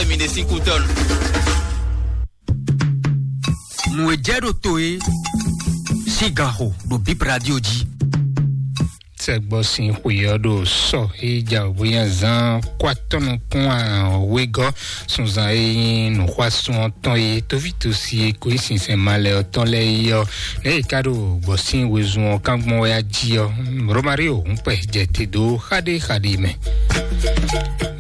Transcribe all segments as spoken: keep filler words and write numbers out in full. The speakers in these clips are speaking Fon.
Mi ɖe sín kú tɔn. Nǔ e jɛ ɖo to e sín ganxo ɖo Bib Radio jí. Sɛgbɔ sín xwe ɔ́ ɖo sɔ e ja wěbónya zán kó atɔ́ nukún wegɔ́ sunzan e nyí nǔxwásún ɔ́ tɔn e tóvítosi e kó nyí sinsɛn malɛ ɔ́ tɔn lɛ́ɛ é ɔ́, nɛ̌ è ka ɖo gbɔ̌ sín wezun ɔ́ kán gbɔn wɛ á jí ɔ́, Romario hǔnkpɛ jɛ te dó xaɖéxaɖé mɛ.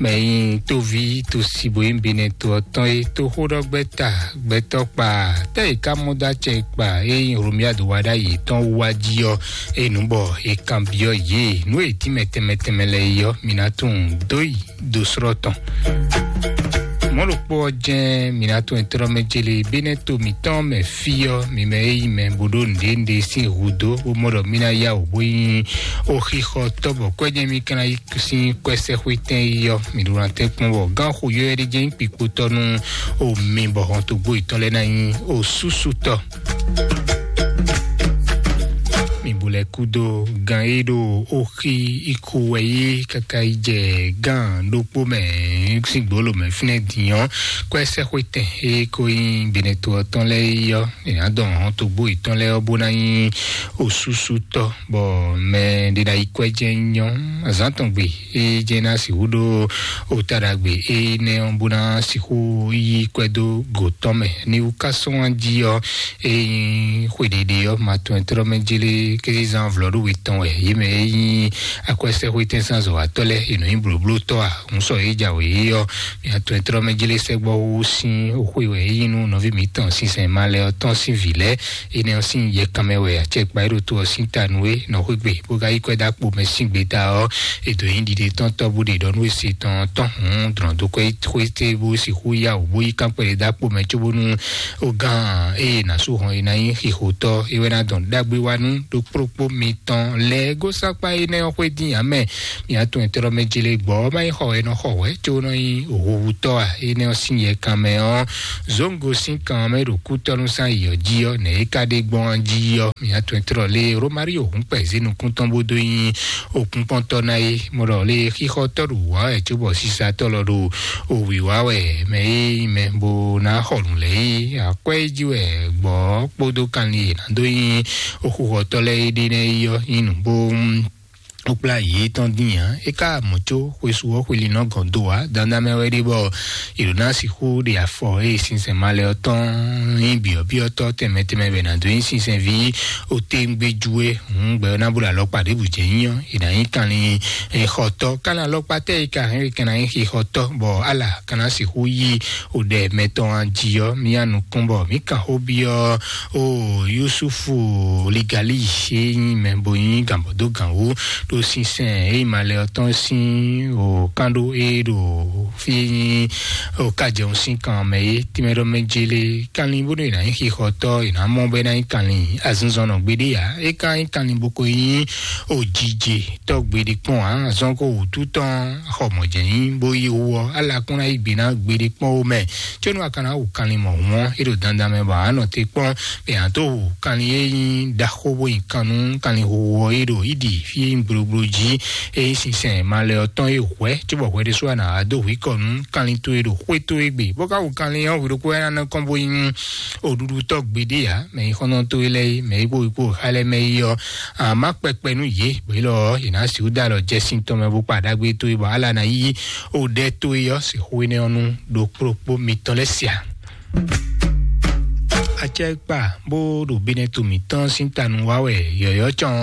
Mɛ nyí tóví tosi bo nyí Benɛto ɔ́ tɔn e tó xó ɖɔ gbɛ́ta gbɛtɔ́ kpa tɛ́ è ká mɔ dó acɛ kpa e nyí Romiado wa ɖ'ayǐ tɔn wá jí ɔ́, e nǔ bɔ è kanbyɔ́ yě nǔ e tínmɛ tɛnmɛ tɛnmɛ lɛ́ɛ é ɔ́, mǐ ná tunwun dó yi do srɔ́ tɔn. Mɔ̌ ɖokpó ɔ́ jɛ́n mǐ ná tunwun tlɔ́ mɛ jélé Benɛto mǐtɔn mɛ fí ɔ́, mi mɛ e nyí mɛ bó ɖó nǔɖé nǔɖé sín hudó bó mɔ ɖɔ mí ná yá wǔ bó nyí oxixɔtɔ́ bɔ kwɛ́jɛ́ mí ka ná yí sín kwɛ́sɛ́xwétɛn yi ɔ́, mǐ ɖó ná tɛ́nkpɔ́n bɔ gán xo yɔ́yɔ́ ɖé jɛ́n nyí kpikpotɔ́ nú omi bɔ hɔntogbó yětɔn lɛ́ɛ ná nyí osúsútɔ́. Mǐ bu lɛ́ kúdó gán e ɖo oxi ikú wɛ yí káká yi jɛ gán ɖokpó mɛ sín gbolo mɛ fínɛ́ din ɔ́, kwɛ́sɛ́xwétɛn e ko nyí Benɛto ɔ́ tɔn lɛ́ɛ yi ɔ́, è nǎ dɔn hɔntogbó yětɔn lɛ́ɛ ɔ́ bó ná nyí osúsútɔ́, bɔ mɛ ɖé ná yi kwɛ́ jɛ́n nyɔ́ azǎn tɔn gbe e jɛ́n ná sixú ɖó ota ɖagbe énɛ́ ɔ́ bó ná sixú yí kwɛ́ dó go tɔn mɛ. Ní wú ká sɔ́ wá jí ɔ́, e nyí xwe ɖiɖi ɔ́, ma tɔn tlɔ́ mɛ jélé kézizán vlɔ́ɖówě tɔn wɛ yě mɛ e nyí akwɛ́sɛ́xwétɛn sín azɔ̌watɔ́ lɛ́ɛ, è nɔ nyí blǒblótɔ́ a? Hǔn sɔ yě jǎwe é ɔ́, mǐ atɔn e tlɔ́ mɛ jélé sɛ́gbɔ́ xó sín xwe wɛ é nyí nú nɔví mǐtɔn sinsɛn malɛ ɔ́ tɔn sín vǐ lɛ́ɛ. Énɛ́ ɔ́ sín yɛkanmɛ wɛ acɛkpa e ɖo to ɔ́ sín ta nú é nɔ xwé gbe, bó ka yí kwɛ́ dó akpo mɛ sín gbeta ɔ́, è dǒ nyi ɖiɖe tɔn tɔ́ bó ɖe ɖɔ nú é se tɔn tɔn hǔn drɔ̌n dó kwɛ́ xwé té bó sixú yá wǔ bó yí kán kpɛɖé dó akpo mɛ cóbónú ó gán ée è nǎ sú hɔn é ná nyí xixotɔ́ é wɛ ná dɔn ɖagbe wá nú ɖokpóɖokpó mitɔn lɛ́ɛ. Gósákpá énɛ́ ɔ́ xwé dín ǎ mɛ. Mǐ atɔn e tlɔ́ mɛ jélé gbɔ̌ ɔ́ má nyí xɔ wɛ é nɔ xɔ wɛ, có nɔ nyí howuhutɔ́ ǎ. Énɛ́ ɔ́ sín yɛkanmɛ ɔ́, Zongo sín kan ɔ́ mɛ ɖo kútɔ́nú sín ayǐ ɔ́ jí ɔ́, nɛ̌ é ka ɖe gbɔn jí ɔ́? Mǐ atɔn e tlɔ́ lé Romario hǔn kpɛ̌ zé nukún tɔn bó dó nyí òkúnkpɔ́ntɔ́ ná é. Mɔ ɖɔ lé xixɔtɔ́ ɖo wǎ wɛ cóbɔ sisatɔ́ lɔ ɖo òwǐ wá wɛ mɛ é nyí mɛ bó ná xɔ nǔ lɛ́ɛ é. Akwɛ́ é jí wɛ gbɔ̌ kpódó kanlin e ná dó nyí oxuxɔtɔ́ lɛ́ɛ é ɖe nɛ́ é ɔ́ nyí nǔ bó ó kplá yě tɔn dín ǎ. É ka mɔ̌ có xwesú ɔ́ xweli nɔ gɔn do ǎ. Dandan mɛ wɛ ɖe bɔ è ɖǒ ná sixú ɖe afɔ ée sinsɛn malɛ ɔ́ tɔn nyí byɔ̌byɔ́tɔ́ tɛnmɛ tɛnmɛ bɛ nǎ dó nyí sinsɛnví oténgbéjú é. Hǔn gbɛ ɔ́ ná bó ɖo alɔkpa ɖěbǔ jɛ nyí ɔ́, è nǎ nyí kanlin xɔtɔ́. Kanlin alɔkpa tɛ́ e ka hɛn é ka ná nyí xixɔtɔ́, bɔ ala ka ná sixú yí oɖɛ mɛtɔn jí ɔ́, mía nukún bɔ mǐ kan xó byɔ́ o Yusufu Ligali e nyí mɛ bo nyí gǎnbɔ́dógǎn wú ɖo sinsɛn e nyí malɛ ɔ́ tɔn sín o kán ɖó e ɖo fí e nyí o kájɛun sín kan mɛ é. Tínmɛ ɖɔ mɛ jélé kanlin bónú è nǎ nyí xixɔtɔ́, è nǎ mɔ bɔ é ná nyí kanlin azinzɔnnɔ gbeɖé ǎ. É ka nyí kanlin bó ko nyí o jijɛ tɔ́ gbeɖé kpɔ́n ǎ. Azɔn ko wǔtu tɔn xɔ mɔ̌ jɛ nyí bó yí wú ɔ́, ala kún ná yí gbe ná gbeɖé kpɔ́n ó mɛ. Có nú a ka ná wu kanlin mɔ̌hun ɔ́, é ɖo dandan mɛ bɔ a nɔ te kpɔ́n bɔ è nǎ dó hu kanlin e nyí ɖaxó bó nyi kan nú kanlin huhu ɔ́ é ɖo íɖi fí e nyí gblogbló jí e nyí sinsɛn malɛ ɔ́ tɔn e hwɛ̌ cóbɔ hwɛ ɖésú a nǎ wá dó hu i kɔ nú kanlin towe ɖo xwé towe gbe. Bó ka hu kanlin ɔ́, hwi ɖokpó wɛ ná nɔ kɔn bó nyí oɖuɖutɔ́ gbeɖé ǎ. Mɛ nyí xɔ́ntɔn towe lɛ́ɛ é, mɛ e kpó wí kpó xa lɛ́ɛ mɛ é ɔ́, a má kpɛkpɛ nú yě, bɔ é lɔ ɔ́, yě ná sixú dó alɔ jɛ sín tɔn mɛ bó kpa ɖagbe towe bɔ ala ná yí o ɖɛ towe ɔ́ sixú énɛ́ ɔ́ nú ɖokpóɖokpó mitɔn lɛ́ɛ sia. Acɛkpa bó ɖo Benɛto mǐtɔn sín tanu wá wɛ yɔ̌yɔ́ cɔn,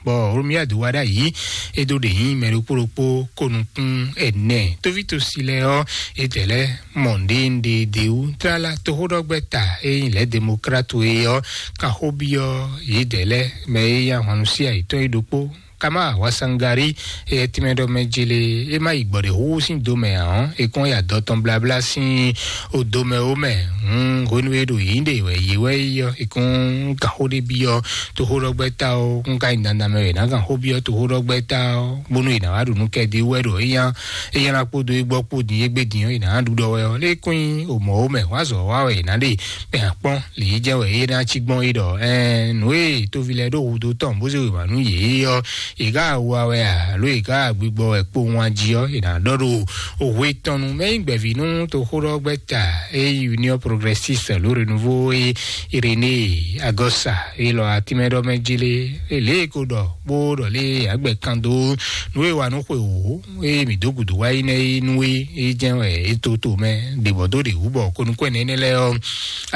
bɔ Romiadu wá ɖ'ayǐ é dó ɖe nyí mɛ ɖokpó ɖokpó ko nukún ɛnɛ. Tóvítosi lɛ́ɛ ɔ́, é tɛ lɛ́ mɔ nǔɖé nǔɖé ɖ'é wú. Tlala toxóɖɔgbɛ́ta e nyí lɛ̌ demokrátu é ɔ́, kan xó byɔ́ yědɛɛ lɛ́ɛ mɛ e nyí ahwannu sí ayǐtɔ́ é ɖokpó. Kama Wasangari, éyɛ́ tínmɛ ɖɔ mɛ jélé, é má yi gbɔ̌ɖěxúxú sín do mɛ ǎ ɔ́, é kɔn yi adɔ tɔn bláblá sín odo mɛ ó mɛ. Hǔn hwenu e ɖo yǐ ɖe wɛ yě wɛ yi ɔ́, é kɔn gǎn xó ɖé byɔ́ toxóɖɔgbɛ́ta ɔ́, kún ka nyi dandan mɛ wɛ è nǎ gǎn xó byɔ́ toxóɖɔgbɛ́ta ɔ́, bónú è nǎ wá ɖu nú kɛdí wɛ ɖo é nya é nya ná kpódó é gbɔ kpó din é gbé din ɔ́, è nǎ ɖu ɖɔ wɛ ɔ́. Lě kún nyí o mɔ̌ ó mɛ wǎ zɔ wá wɛ è nǎ ɖe, bɔ è nǎ kpɔ́n lě yi jɛ wɛ é ná cí gbɔn é ɖɔ ɛɛ nǔ e tóvi lɛ́ɛ ɖó hudó tɔn bó zé wěma nú yě ɔ́, È ká wa wɛ a, alo è ká gbigbɔ wɛ kpowun a jí ɔ́, è nǎ ɖɔ ɖo òwe tɔn nu. Mɛ nyí gbɛ̌ví nú toxóɖɔgbɛ́ta e nyí Union Progressiste ló Renouveau e Irénée Agɔsa e lɔ atínmɛɖɔmɛ jí lé, e lě e ko ɖɔ bó ɖɔ lé agbɛ kan dó nú e wa nú xwe wǒ e mǐ dó gǔdo wá yi nɛ́ é nú é, é jɛ́n wɛ é tó to mɛ ɖě bɔ dó ɖě wú bɔ ko nukún ɛnɛ énɛ́ lɛ́ɛ ɔ́,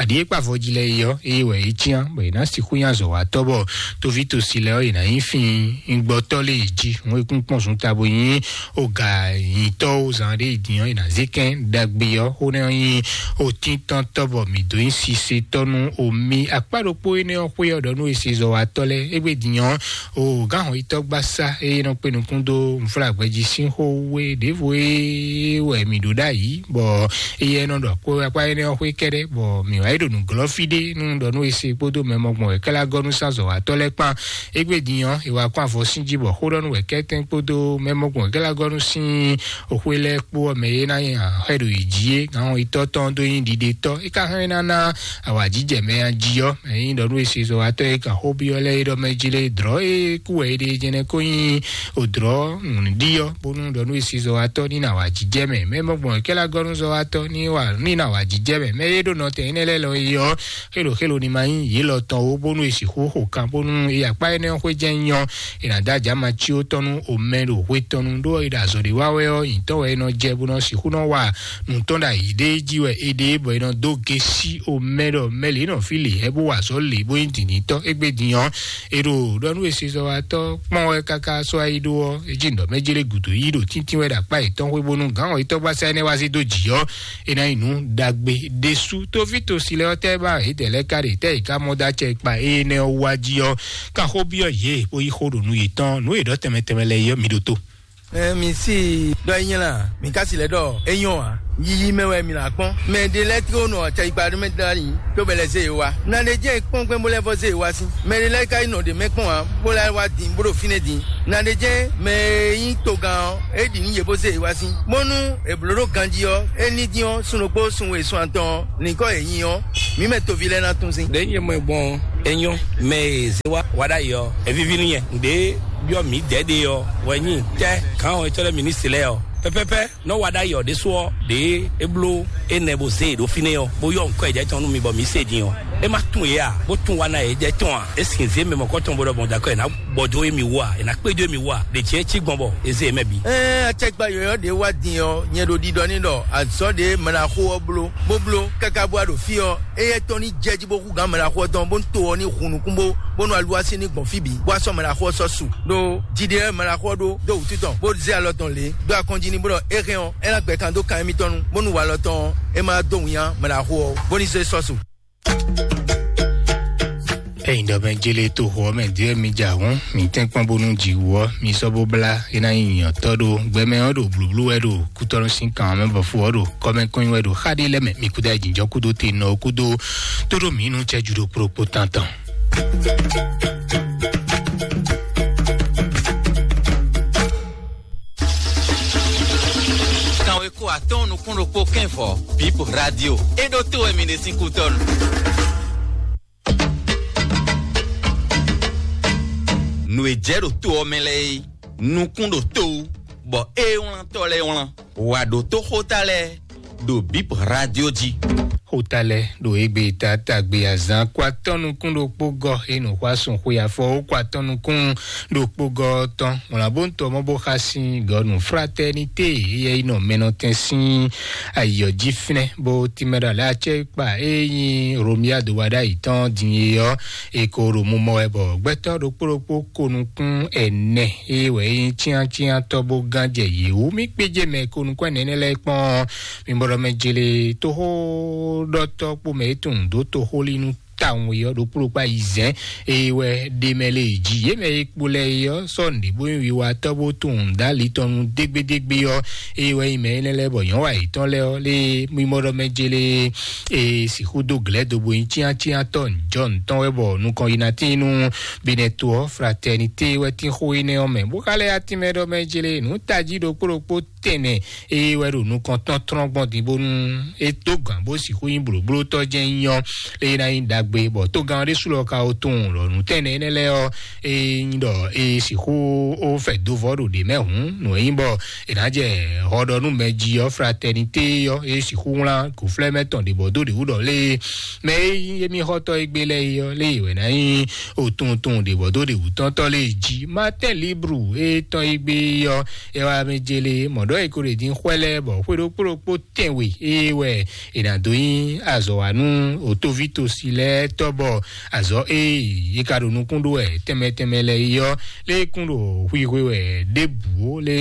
aɖǐ e kpa avɔ jí lɛ́ɛ é ɔ́, eye wɛ é cyán bɔ è nǎ sixú nyí azɔ̌watɔ́ bɔ tóví tosi lɛ́ɛ ɔ́, è nǎ nyí fín gbɔtɔ́ lé yě jí. Hǔn e kún kpɔ́n zunta bo nyí oga nyitɔ́ ó zan ɖé yi din ɔ́, è nǎ zé kɛ́n ɖagbe ɔ́ xó nɛ́ ɔ́ nyí otíntɔ́ntɔ́ bɔ mǐ dó nyí sisetɔ́ nú omi akpá ɖokpó énɛ́ ɔ́ xwé ɔ́ ɖɔ nú esezɔ́watɔ́ lɛ́ɛ. Égbé din ɔ́, o gǎn hɔn yitɔ́ gbasá e nɔ kpé nukún dó nǔflágbɛjí sín xó wú é ɖěvo é wɛ mǐ ɖó ɖ'ayǐ, bɔ éyɛ́ nɔ ɖɔ kpó akpá énɛ́ ɔ́ xwé kɛ́ɖɛ́, bɔ mǐ wá yi ɖo nǔglɔ́ fí ɖé nú ɖɔ nú ese kpódó mɛ mɔgbɔn wɛ kɛ́lá gɔ́ nú sán zɔ̌watɔ́ lɛ́ɛ kpán. Égbé din ɔ́, è wá kɔn avɔ sín jí bɔ xó ɖɔ nú wɛ kɛ́tɛ́n kpódó mɛ mɔgbɔn wɛ kɛ́lá gɔ́ nú sín oxwé lɛ́ɛ kpó ɔ́ mɛ e ná nyi axɔ́ ɖo yǐ jí é, gǎn hɔn yitɔ́ tɔn dó nyí ɖiɖetɔ́. É ka hɛn ná ná awǎjijɛ mɛ a jí ɔ́, mɛ nyí ɖɔ nú esezɔ́watɔ́ e kan xó byɔ́ lɛ́ɛ é ɖɔ mɛ jí lé dlɔ̌ e kú wɛ é ɖe jɛnɛ kó nyí òdlɔ́ nǔɖiɖi ɔ́, bónú ɖɔ nú esezɔ́watɔ́ ní ná awǎjijɛ mɛ. Mɛ mɔgbɔn kɛ́lá gɔ́ nú zɔ́watɔ́ ní wa ní ná awǎjijɛ mɛ. Mɛ e ɖo nɔtɛn énɛ́ lɛ́ɛ lɔ é ɔ́, xélo xélo ní ma nyí yě lɔ tɔn ó, bónú è sixú xo kan, bónú é akpá énɛ́ xwé jɛ́n nyɔ́, è nǎ dó ajǎ ma cí ó tɔn nú omɛ ɖo hwe tɔn nu, ɖó é ɖo azɔ̌ ɖé wa wɛ ɔ́, nyǐtɔn wɛ é nɔ jɛ bó nɔ sixú nɔ wa nǔ tɔn ɖo ayǐ ɖé jí wɛ é ɖe, bɔ è nɔ dó gé sí omɛ ɖɔ mɛ lě nɔ fí lě hɛ́ bó wa azɔ̌ lě bó nyí dǐndíntɔ́. Égbé din ɔ́, è ɖo ɖɔ nú esezɔ́watɔ́ kpɔ́n wɛ káká sɔ́ ayi ɖó ɔ́, é jí nǔ ɖɔ mɛ jlé gǔdo yí ɖo tíntín wɛ ɖo akpá yětɔn xwé bónú gǎn ɔ́ yítɔ́ gbasá énɛ́ wá zé dó jǐ ɔ́, é ná nyí nǔ ɖagbe ɖésú. Tóví tosi lɛ́ɛ ɔ́, tɛ́ ba yědɛɛ lɛ́ɛ ka ɖe tɛ́ yě ká mɔ dó acɛ kpa énɛ́ ɔ́ wá jí ɔ́, ká xó byɔ́ yě bó yí xó ɖo nú yětɔn. Nǔ e ɖɔ tɛnmɛ tɛnmɛ lɛ́ɛ é ɔ́, mi ɖótó. Ɛ, mi si ɖɔ é nyla, mi ka si lɛ ɖɔ é nyɔ ǎ. Yiyi mɛ wɛ mi nǎ kpɔ́n. Mɛ ɖé lɛ́ɛ tló nɔ acɛyikpa ɖó mɛ dlá yi, tó bɛ lɛ zé yě wá. Na ɖé jẹ́ kpɔ́n gbɛn bó lɛ́ vɔ zé yě wá sí. Mɛ ɖé lɛ́ɛ ka yi nɔ ɖě mɛ kpɔ́n ǎ, bó lɛ́ wá din bó ɖo fínɛ́ din. Na ɖé jẹ́ mɛ e nyí togán ɔ́, é ɖi nú yě bó zé yě wá sí. Bónú è blǒ ɖó ganjí ɔ́, é ní dín ɔ́, sun ɖokpó sun we sun atɔn ɔ́, nyǐkɔ yě nyi ɔ́, mǐ mɛ toví lɛ́ɛ ná tún sín. Ɖě nyɛ mɔ ɛ gbɔn ɔ́, é nyɔ́. Mɛ e zé wá wá ɖ'ayǐ ɔ́, é víví nú nyɛ. Nǔɖé byɔ́ mǐ dɛ̌ ɖe ɔ́ wɛ nyí tɛ́ gǎn ɔ́, etɔ́ lɛ́ɛ ministri lɛ́ɛ ɔ́. Pɛ́pɛ́pɛ́ nɔ́ wa ɖ'ayǐ ɔ́ ɖésú ɔ́, ɖě é bló énɛ́ bó zé e ɖó fínɛ́ ɔ́, bó yɔ́ nǔkɔ e jɛ tɔn nú mi bɔ mǐ se din ɔ́, é má tún yě a, bó tún wa ná yě jɛ tɔn a? É sin zě mɛ mɔ̌kɔtɔn bó ɖɔ gbɔn dǎkɔ è nǎ gbɔ dó émí wú a? È nǎ kpé dó émí wú a? Ɖě jɛ́n cí gbɔn bɔ è zé yě mɛ bǐ. Ɛɛ, acɛkpa yɔ̌yɔ́ ɖě wá din ɔ́, nyɛ ɖo ɖiɖɔ ní ɖɔ azɔ̌ ɖě mɛɖaxó ɔ́ bló, bó bló káká bó wá ɖo fí ɔ́, éyɛ́ tɔn ní jɛ jí bó hú gǎn mɛɖaxó ɔ́ tɔn, bónú to ɔ́ ní hun nukún bó, bónú aluwá sín ní gbɔn fí bǐ, bó wá sɔ́ mɛɖaxó ɔ́ sɔ́ su. Ɖó jiɖe ɔ́ mɛɖaxó ɔ́ ɖó dó wǔtu tɔn, bó zé alɔ tɔn lě dó akɔnjí ní bó ɖɔ é hɛn ɔ́, é ná gbɛ kan dó kan émítɔn nu, bónú walɔ tɔn ɔ́, é má dó winnyá mɛɖaxó ɔ́, bó ní zé sɔ́ su. Ẹ̀yin ɖɔ mɛ jele to xɔ mɛ diɛ mi ja hun mi tɛn kpɔn bonu ji wɔ mi sɔ bo bla ina yi nyɔ tɔ ɖo gbɛmɛ ɔ ɖo blublu wɛ ɖo kutɔnu sin kan mɛ bɔ fo ɔ ɖo kɔmɛ kɔnyi wɛ ɖo xa ɖe lɛ mɛ mi kuda jinjɔ kudo te nɔ kudo to ɖo mi nu cɛ ju ɖo kplokpo tantan. Kanwe ko atɔn nukun ɖokpo kɛn vɔ bip radio e ɖo to wɛ mi ɖe sin kutɔnu. Nu e jɛ ɖo to ɔ mɛ lɛ e nukun ɖo to wú bɔ e wlantɔ lɛ wlan wa ɖo to xota lɛ ɖo bip radio ji. Xota lɛ ɖo egbe tata gbe azan kó atɔn nukun ɖokpo gɔ e nǔ xɔ asun xwe afɔ ó kó atɔn nukun ɖokpo gɔ tɔn wlan bó ŋutɔ mɔ bó xa sin gɔnu fraternité yɛ yi nɔ mɛnɔtɛn sin ayɔ jí finɛ bó timɛ ɖo alɛ acɛ kpa e nyi romia do wa ɖe ayi tɔn din e yɔ e ko ɖo mumɔ wɛ bɔ gbɛtɔ ɖokpo ɖokpo ko nukun ɛnɛ e wɛ e nyi tiantiantɔ bó gán jɛ yě wú mi kpéjé mɛ ko nukun ɛnɛ lɛ kpɔn. Mi bɔlɔ mɛ jele toxo ɖɔtɔ kpo mɛ etun do toxo li nu tawun yɔ ɖokpo ɖokpo ayi zɛn eye wɛ ɖe mɛ le yi ji ye mɛ e kpo lɛ yɔ sɔ nɖe bo wi wa tɔ bo tun da li tɔn nu degbe degbe yɔ eye wɛ yi mɛ yi lɛ lɛ bɔ yɔn wa yi tɔn lɛ ɔ le mi bɔlɔ mɛ jele e sixu do glɛ do bo yi tian tian tɔ njɔ ntɔn wɛ bɔ nukɔn yi na tin nu binɛ to ɔ fraternité wɛ tin xo yi nɛ ɔ mɛ bo xa lɛ ya tin mɛ ɖɔ mɛ jele nu taji ɖokpo ɖokpo tɛnɛ eye wɛ ɖo nukɔntɔn trɔn gbɔn din bónú é dó gǎn bó sixú nyí blǒblótɔ́ jɛ́n nyí ɔ́, eye ná nyí ɖagbe gbe bɔ tógán ɖé sú lɔ ka ó tunwun ɖɔ nǔ tɛnɛ énɛ́ lɛ́ɛ ɔ́, é nyí ɖɔ é sixú ó fɛ dó vɔ́ ɖo ɖě mɛ hǔn, nǔ e nyí bɔ è nǎ jɛ hɔɖɔnú mɛ jí ɔ́, fraternité ɔ́, é sixú wlán gǒflɛ́ mɛ tɔn ɖě bɔ dó ɖě wú ɖɔ lé mɛ e nyí émí xɔ́tɔ́ e gbé lɛ́ɛ é ɔ́, lé wɛ ná nyí otuntun ɖě bɔ dó ɖě wú tɔ́ntɔ́ lé jí. Martin Libru e tɔn e gbé ɔ́, é wá mɛ jélé mɔ̌ ɖɔ é ko ɖě dín xwɛ lɛ́ɛ bɔ xwé ɖokpó ɖokpó tɛnwe é wɛ è nǎ dó nyí azɔ̌ wa nú òtóvítosi lɛ́ɛ tɔ́ bɔ azɔ̌ e yě ka ɖo nukún ɖó wɛ tɛnmɛ tɛnmɛ lɛ́ɛ é ɔ́, lé kún ɖo xwixwe wɛ ɖěbǔ ó lé.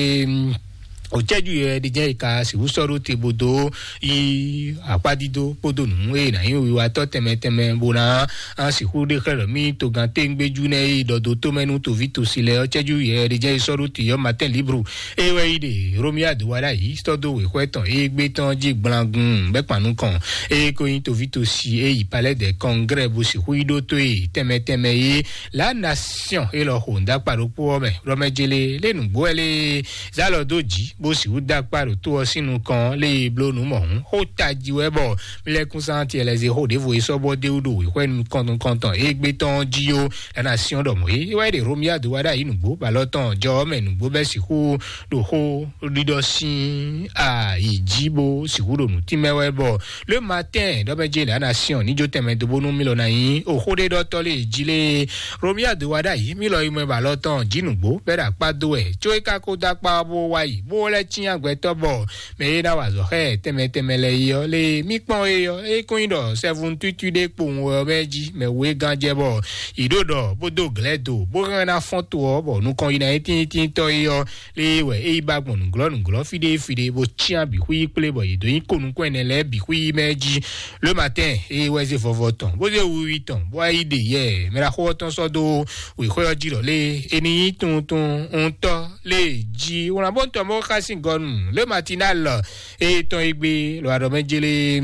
Òcɛ́jú yɛ ɖi jẹ́ ìka sixú sɔ́ ɖó te bó dó yí akpádídó kpódó nǔ e nǎ nyí wiwatɔ́ tɛnmɛ tɛnmɛ bó ná sixú ɖe xlɛ́ ɖɔ mí togán téŋgbéjú nɛ́ e ɖɔ dó tómɛ nú toví tosi lɛ́ɛ ɔ́, cɛ́jú yɛ ɖi jẹ́ sɔ́ ɖó te ɔ́, Martin Libru e wɛ yi ɖe Romuald Wadagni sɔ́ dó wěxwɛ́ tɔn e gbé tɔn jí gblangun bɛ́ kpan nukɔn e ko nyí toví tosi e yi Palais des Congrès bó sixú yi ɖó tó e tɛnmɛ tɛnmɛ e La Nation e lɔ xo ŋdakpa ɖokpó ɔ́ mɛ ɖɔ mɛ jele lé nǔgbó wɛ lé zá lɔ dó jǐ bó sixú dó akpá ɖo tó ɔ́ sín nukɔn lé e bló nǔ mɔ̌hún xó tají wɛ bɔ mílɛ́kúnsántí ɛlɛzexó ɖěvo e sɔ́ bɔ dé wú ɖo wěxwɛ́ nukɔntɔn e gbé tɔn jí ó. La Nation ɖɔ mɔ̌ é wɛ ɖe Romuald Wadagni nǔgbó bɔ alɔ tɔn jɔ ɔ́ mɛ nǔgbó bɛ́ sixú ɖo xó ɖiɖɔ sín ayi jí bó sixú ɖo nǔ tínmɛ wɛ bɔ Le Matin ɖɔ mɛ jele La Nation ní jó tɛnmɛ dó bónú mí lɔ ná nyí oxó ɖé ɖɔtɔ́ lé jí lé. Romuald Wadagni mí lɔ yi mɛ ba lɔ tɔn jí nǔgbó bɛ́ ɖo akpá dó wɛ có é ka ko dó akpá ɔ́ bó wá yi bó lɛ́ cyán gbɛtɔ́ bɔ mɛ e ná wa azɔ̌ xá ɛ tɛnmɛ tɛnmɛ lɛ́ɛ yi ɔ́ lé mí kpɔ́n é ɔ́ é kún nyí ɖɔ sɛ́vun tútú ɖé kpowun wɛ ɔ́ mɛ jí mɛ wú é gán jɛ bɔ yě ɖo ɖɔ bó dó glɛ̌ do bó hɛn ná fɔ́n to ɔ́ bɔ nukɔn yi ná nyí tíntíntɔ́ é ɔ́ lé wɛ é yi ba gbɔn nǔglɔ́ nǔglɔ́ fí ɖé fí ɖé bó cyán bǐ xwí kplé bɔ yě dó nyí ko nukún ɛnɛ lɛ́ɛ bǐ xwí mɛ jí. Le Matin é wɛ zé vɔvɔ tɔn bó zé wiwi tɔn bó wá yi ɖe yɛ mɛ ɖaxó ɔ́ tɔn sɔ́ dó wěxwé ɔ́ jí ɖɔ lé é ní nyí tuntun ŋutɔ́ lé jí wlán bó tɔn bó xá sín gɔnu Le Matinal é tɔn é gbé lɔ aɖɔ mɛ jélé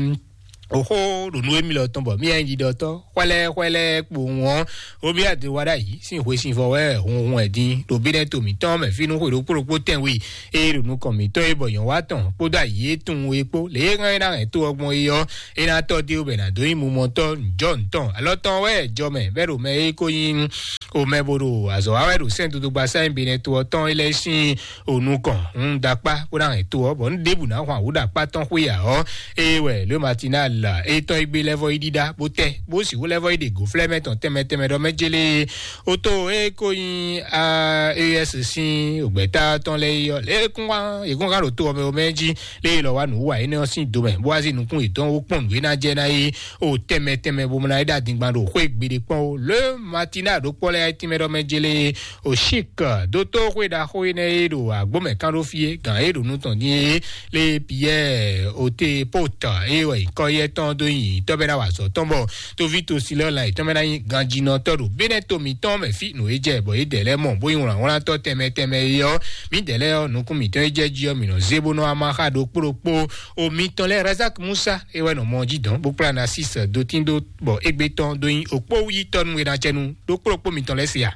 oxó ɖo nú émí lɔ tɔn bɔ mí nyí ɖiɖɔtɔ́ xwɛlɛ xwɛlɛ kpowun ɔ́ Romuald Wadagni sín hwesivɔ́ wɛ hunhun ɛ dín ɖo bínɛ́ to mǐtɔn mɛ fínú xwe ɖokpó ɖokpó tɛnwe e ɖo nukɔn mǐtɔn e bɔ nyɔ̌wá tɔn kpódó ayǐ e tunwun e kpó lě e hɛn é ná hɛn tó ɔ́ gbɔn é ɔ́ é ná tɔ́ dé bɔ è nǎ dó nyí mumɔtɔ́ njɔ́ ntɔn alɔ tɔn wɛ jɔ mɛ bɛ́ ɖo mɛ e ko nyí o mɛ bo ɖo azɔ̌ wa wɛ ɖo sɛ́n dodogba sáyɛn benɛ to ɔ́ tɔn é lɛ́ sín o nukɔn un ɖakpá bó ná hɛn to ɔ́ bɔ un ɖěbǔ ná hwan wǔ ɖakpá tɔn xwé ǎ ɔ́ é wɛ Le Matinal é tɔn é gbé lɛ́vɔ́ yi ɖíɖá bó tɛ bó sixú lɛ́vɔ́ yi ɖe gǒflɛ́ mɛ tɔn tɛnmɛ tɛnmɛ ɖɔ mɛ jélé Oto e ko nyi a es sín ògbɛ́ta tɔn lɛ́ɛ yi ɔ́ lě kún wá yě kún hán ɖo to ɔmɛ ɔmɛ jí lě e lɔ wá nǔ wa énɛ́ ɔ́ sín domɛ bó wá sí nukún yětɔn wó kpɔ́n nǔ e ná jɛ ná yi o tɛnmɛ tɛnmɛ bó mlá yi ɖo adingban ɖo xwé gbeɖé kpɔ́n o le matina ɖó kpɔ́ lɛ́ɛ tínmɛ ɖɔ mɛ jélé o sik dótó xwé ɖaxó énɛ́ e ɖo agbómɛ kán ɖó fí é gǎn e ɖo nú tɔn dín é lé Pierre ote pota e wɛ nyǐkɔ yɛ tɔn dó nyi tɔ́ bɛ́ ná wa azɔ̌ tɔn bɔ toví tosilɔ lan yětɔn mɛ ná nyí ganjinɔtɔ́ ɖo bínɛ́ to mǐtɔn mɛ fí nǔ e jɛ bɔ yě dɛ lɛ́ɛ mɔ bó nyí wlǎnwlántɔ́ tɛnmɛ tɛnmɛ é ɔ́ mǐ dɛ lɛ́ɛ ɔ́ nukún mǐtɔn e jɛ jí ɔ́ mǐ nɔ zé bó nɔ wá má xá ɖokpó ɖokpó o mǐtɔn lɛ́ɛ razak musa é wɛ nɔ mɔ jí dɔn bó kplá na sis dotín dó bɔ égbé tɔn dó nyí okpó yítɔ́ nú e ná cɛ nú ɖokpó ɖokpó mǐtɔn lɛ́ɛ se a.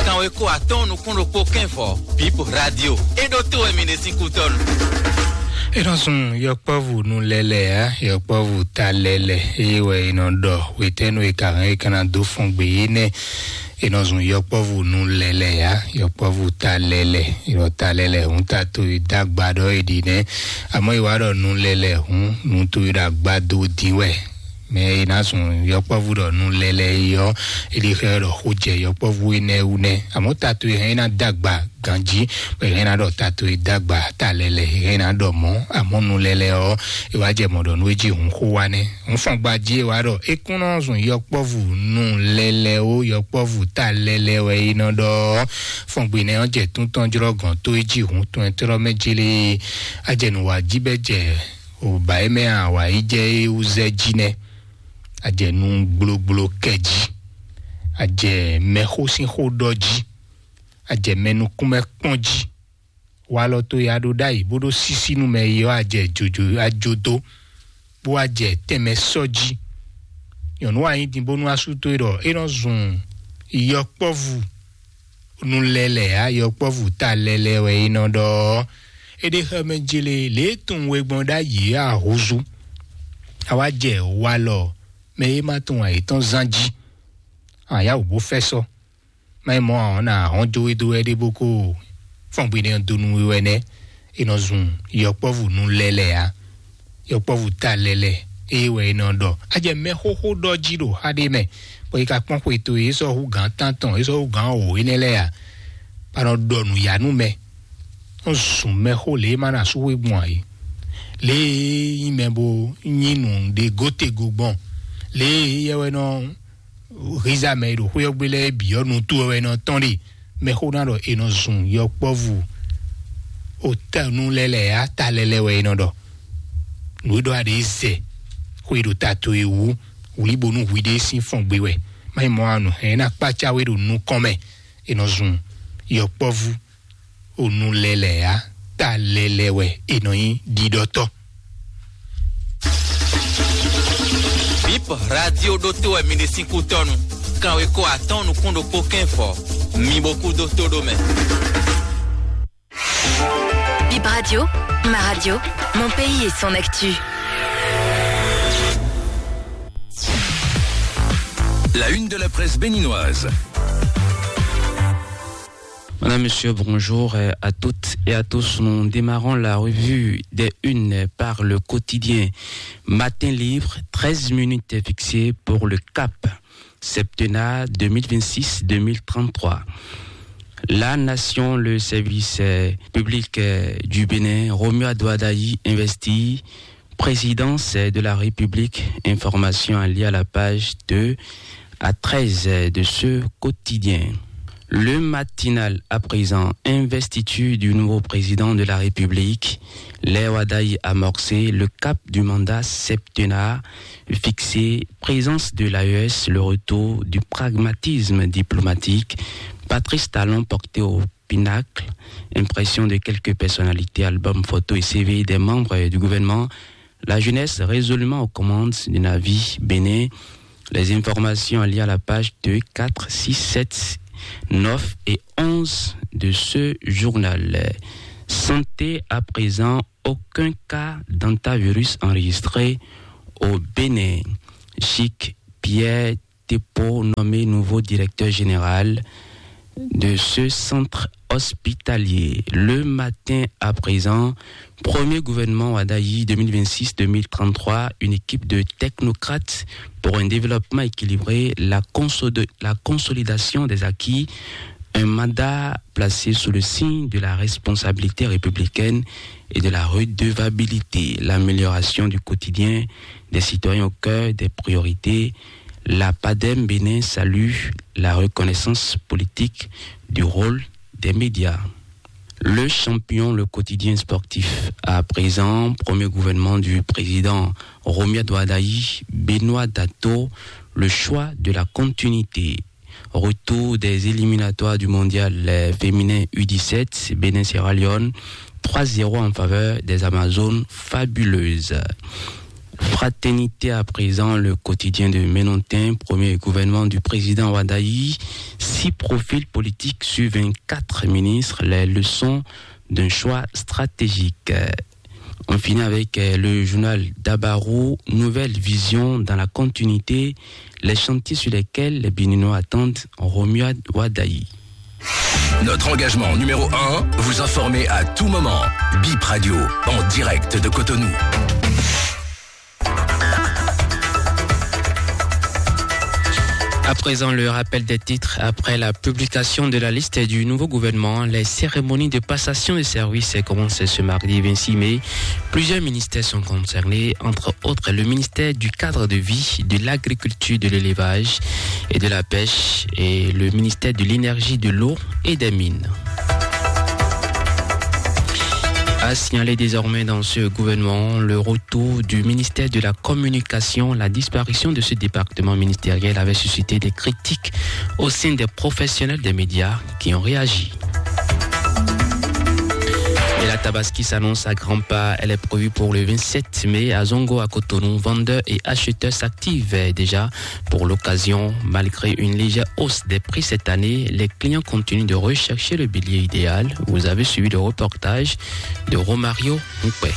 Kanwe ko atɔn nukún ɖokpó kɛnvɔ bip radio e ɖo to wɛ mi ɖe sín kútɔnu. Enɔ sun yɔkpɔvu nu lɛlɛ ya yɔkpɔvu ta lɛlɛ eye wɛ enɔ ɖɔ wetɛnu e ka hɛn e kana do fɔn gbe yi nɛ. Enɔ sun yɔkpɔvu nu lɛlɛ ya yɔkpɔvu ta lɛlɛ enɔ ta lɛlɛ hun ta to yi dagba ɖɔ e ɖi nɛ. Amɔ yi wa ɖɔ nu lɛlɛ hun nu to yi ɖo agba do di wɛ. Mɛ e ná sun yɔkpɔvu ɖɔ nu lɛlɛ yi ɔ́, é ɖi xɛ ɖɔ xó jɛ yɔkpɔvu énɛ́ wú nɛ́. Amɔ̌ tato e hɛn é ná dó agba ganjí, bɔ é hɛn ná ɖɔ tato e dó agba ta lɛlɛ, é hɛn ná ɖɔ mɔ̌, amɔ̌ nu lɛlɛ ɔ́, é wá jɛ mɔ̌ ɖɔ nú é jí hun xó wá nɛ́. Un fɔn gba jí é wá ɖɔ é kún nɔ zun yɔkpɔvu nu lɛlɛ ó, yɔkpɔvu ta lɛlɛ wɛ é nɔ ɖɔ ɔ́. Fɔn gbe nɛ́ ɔ́ jɛ tún tɔn jlɔ́ gɔ̌n tó é jí hun tɔn ɛ tlɔ́ mɛ jélé. Á jɛ nǔ wá jí bɛ́ jɛ Oba e mɛ a wǎ yi jɛ é wú zɛ jí nɛ́. A jɛ nu gblogblo kɛ jí. A jɛ mɛxó sín xó ɖɔ jí. A jɛ mɛ nukúnmɛ kpɔ́n jí. Walɔ to ya ɖó ɖ'ayǐ bó ɖó sísí nú mɛ yi ɔ́, a jɛ jojo ajodo, bó wá jɛ tɛnmɛ sɔ́ jí. Nyɔ̌nu wa nyí din bónú asú towe ɖɔ é nɔ zun yɔkpɔ́vú nu lɛlɛ á, yɔkpɔ́vú ta lɛlɛ wɛ é nɔ ɖɔ ɔ́. É ɖe xɛ mɛ jele lě e tunwun we gbɔn ɖ'ayǐ é ahúzú. A wá jɛ walɔ mɛ e ma tunwun ayǐtɔn zán jí. A yá wǔ bó fɛ́ sɔ́. Má nyí mɔ̌ ǎ ɔ́, nǎ hɔn jó we dó wɛ ɖé bó kó fɔ́n gbe nɛ́ ɔ́ dó nú we wɛ nɛ́. È nɔ zun yɔkpɔ́vú nú lɛ́ lɛ́ɛ ǎ. Yɔkpɔ́vú ta lɛ́ lɛ́ɛ, ée wɛ è nɔ ɖɔ. A jɛ mɛ xóxó ɖɔ jí ɖo xá ɖé mɛ, bɔ è ka kpɔ́n xwe towe, é sɔ́ hú gǎn tántɔn, é sɔ́ hú gǎn wǒ énɛ́ lɛ́ɛ ǎ. Bɔ a nɔ ɖɔ nǔyá nú mɛ. Nɔ zun mɛxó lě e ma na sú we gbɔn ǎ é. Lě e nyí mɛ bo nyí nǔ ɖe gótego gbɔn. Lě e yɛ wɛ nɔ hízá mɛ e ɖo xwé ɔ́ gbe lɛ́ɛ bǐ ɔ́ nu towe wɛ nɔ tɔn ɖe. Mɛxó ná ɖɔ è nɔ zun yɔkpɔ́vú otɛnu lɛ́ lɛ́ɛ á, ta lɛ́ lɛ́ɛ wɛ è nɔ ɖɔ. Nǔ e ɖɔ a ɖě zɛ xwe ɖo ta towe wú, wlí bónú hwi ɖé sín fɔn gbe wɛ. Má nyí mɔ̌ ǎ, nǔ hɛn é ná kpácá we ɖo nukɔn mɛ. È nɔ zun yɔkpɔ́vú onu lɛ́ lɛ́ɛ á, ta lɛ́ lɛ́ɛ wɛ è nɔ nyí ɖiɖɔtɔ́. Bip radio ɖótó wɛ mi ɖe sín kútɔ́nu. Kanweko atɔ́ɔ́n nukún ɖokpó kɛ́nfɔ, mi bo kú dó tó ɖó mɛ. Bip Radio, ma radio, mon pays et son actu. La une de la presse béninoise. Madame, Monsieur, bonjour, euh, à toutes et à tous. Nous démarrons la revue des unes par le quotidien Matin Libre. Treize minutes fixées pour le cap septennat deux mille vingt-six deux mille trente-trois. La Nation, le service, euh, public, euh, du Bénin, Romuald Wadagni investit, présidence, euh, de la République, information à lire à la page deux à treize, euh, de ce quotidien. Le Matinal, à présent, investiture du nouveau président de la République, Léo Wadagni amorcé, le cap du mandat septennat fixé, présence de l'A E S, le retour du pragmatisme diplomatique, Patrice Talon porté au pinacle, impression de quelques personnalités, album, photo et C V des membres du gouvernement, la jeunesse résolument aux commandes du Navi Bénin. Les informations à lire à la page deux, quatre, six, sept, neuf et onze de ce journal. Santé à présent, aucun cas d'hantavirus enregistré au Bénin. Chic Pierre Tepo nommé nouveau directeur général de ce centre hospitalier. Le Matin à présent, premier gouvernement Wadagni deux mille vingt-six deux mille trente-trois, une équipe de technocrates pour un développement équilibré, la, consod- la consolidation des acquis, un mandat placé sous le signe de la responsabilité républicaine et de la redevabilité, l'amélioration du quotidien des citoyens au cœur des priorités. La PADEM Bénin salue la reconnaissance politique du rôle des médias. Le Champion, le quotidien sportif, à présent, premier gouvernement du président Romuald Wadagni, Benoît Dato, le choix de la continuité. Retour des éliminatoires du mondial, euh, féminin U dix-sept, Bénin Sierra Leone, trois zéro en faveur des Amazones fabuleuses. Fraternité à présent, le quotidien de Ménontin, premier gouvernement du président Wadagni, six profils politiques sur vingt-quatre ministres, les leçons d'un choix stratégique. Euh, on finit avec, euh, le journal Dabarou, nouvelle vision dans la continuité, les chantiers sur lesquels les Béninois attendent Romuald Wadagni. Notre engagement numéro un, vous informer à tout moment. Bip Radio, en direct de Cotonou. À présent, le rappel des titres. Après la publication de la liste du nouveau gouvernement, les cérémonies de passation de service commencent ce mardi vingt-six mai. Plusieurs ministères sont concernés, entre autres le ministère du cadre de vie, de l'agriculture, de l'élevage et de la pêche et le ministère de l'énergie, de l'eau et des mines. À signaler désormais dans ce gouvernement le retour du ministère de la communication. La disparition de ce département ministériel avait suscité des critiques au sein des professionnels des médias qui ont réagi. Et la Tabaski s'annonce à grands pas. Elle est prévue pour le vingt-sept mai à Zongo, à Cotonou. Vendeurs et acheteurs s'activent déjà pour l'occasion. Malgré une légère hausse des prix cette année, les clients continuent de rechercher le bélier idéal. Vous avez suivi le reportage de Romario Moupe.